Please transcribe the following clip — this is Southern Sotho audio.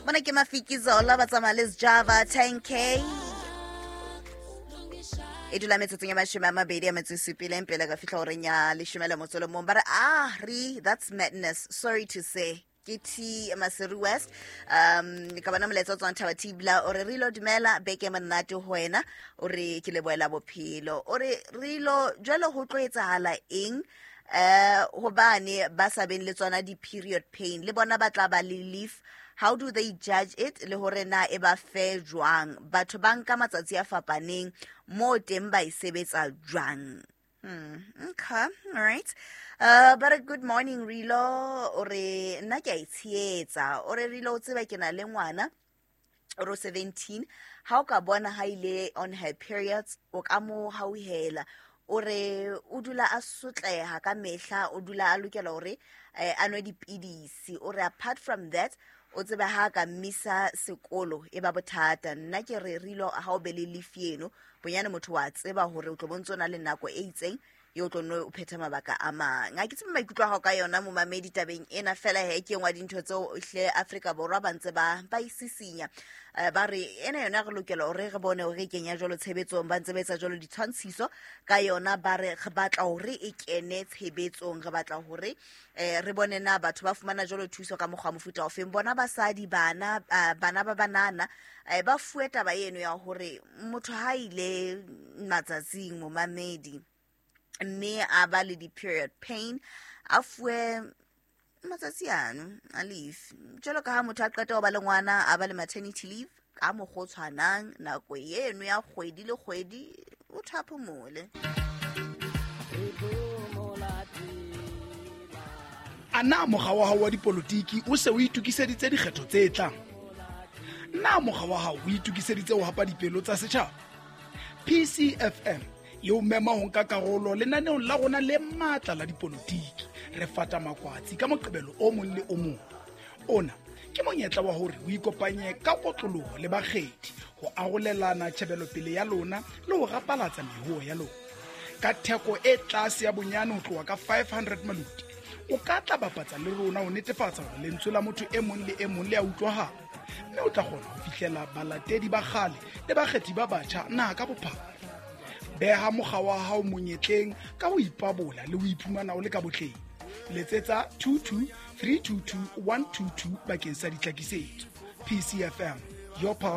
Mona ke Mafikizolo ba tsamaya le Sjava 10K. E dula metsotsong ya 27 pele ka fihla horeng ya 11. Ba re ah re that's madness, sorry to say. Ke T Maseru West. Ka bona molaetsa o tswang Thaba Tibla, o re re ilo dumela beke monate ho wena, o re ke lebohela bophelo, o re re ilo jwale ho tlo etsahala eng hobane ba sa beng le tsona di-period pain le bona ba tla ba le leave? How do they judge it le hore na e ba fe jwang? Batho ba nka matsatsi a fapaneng mo teng, ba e sebetsa jwang? Okay, all right. But good morning Rilo, o re nna ke a e tshehetsa. O re Rilo, o tseba ke na le ngwana o re 17, ha o ka bona ha ile on her periods o ka mo hauhela. O re o dula a sotleha ka mehla, o dula a lokela hore a nwe dipidisi. O re apart from that, o tsebe ha ka mmisa sekolo e ba bothata. Nna ke re Rilo, ha o be le leave eno bonyane motho wa tseba hore o tlo bontse o na le nako e itseng ye o tlo nne o phetha mabaka a mang. A ke tsebe maikutlo a gago ka yona, momamedi, tabeng ena. Fela he ke engwe ya dintho tseo hle Afrika Borwa ba ntse ba isisinya, ba re ena yona re lokela hore re bone hore e kenya jwalo tshebetsong. Ba ntse ba etsa jwalo ditshwantshiso ka yona, ba re re batla hore e kene tshebetsong, re batla hore re bone na batho ba fumana jwalo thuso ka mokgwa mofuta ofeng. Bona basadi bana, bana ba banana, ba fuwe taba eno ya hore motho ha ile matsatsing, momamedi, mme a ba le di-period pain, a fuwe matsatsi ano a leave jwalo ka ha motho a qeta ho ba le ngwana, a ba le maternity leave ka mokgwa o tshwanang, nako eno ya kgwedi le kgwedi o thaphomole. A na mokga wa hao wa dipolotiki o se o itokiseditse dikgetho tse tlang? Na mokga wa hao o itokiseditse ho hapa dipelo tsa setjhaba? PCFM e o mema ho nka karolo lenaneong la rona le matla la dipolotiki, Re Fata Makwatsi, ka Moqebelo o mong le o mong. Ona ke monyetla wa hore o ikopanye ka kotloloho le bakgethi ho arolelana tjhebelopele ya lona le ho rapalatsa mehoho ya lona ka theko e tlase ya bonyane ho tloha ka 500 maluti. O ka tla bapatsa le rona ho netefatsa hore lentswe la motho e mong le e mong le a utlwahala, mme o tla kgona ho fihlela balatedi ba kgale le bakgethi ba batjha naha ka bophara. Beha mokga wa hao monyetleng ka ho ipabola le ho iphumana o le ka botleng. Letsetsa 22 322 122 bakeng sa ditlhakisetso. PCFM, your pulse.